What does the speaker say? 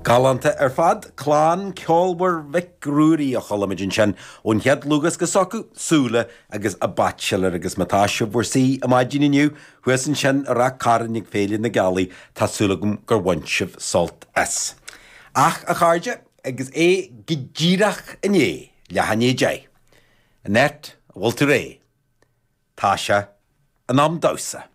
Galánta ar fad, clann ceolmhar Mhic Ruairí a chuala muid ansin ón chéad dlúthdhiosca s'acu, Súile agus A Bachelor agus má tá sibh bhur suí ar maidin inniu thuas ansin i Ráth Cairn ag Féile na Gealaí, tá súil agam gur bhain sibh sult as. Ach, a chairde, agus é go díreach i ndiaidh leath i ndiaidh 10, Annette, an bhfuil tú réidh? Tá sé in am damhsa.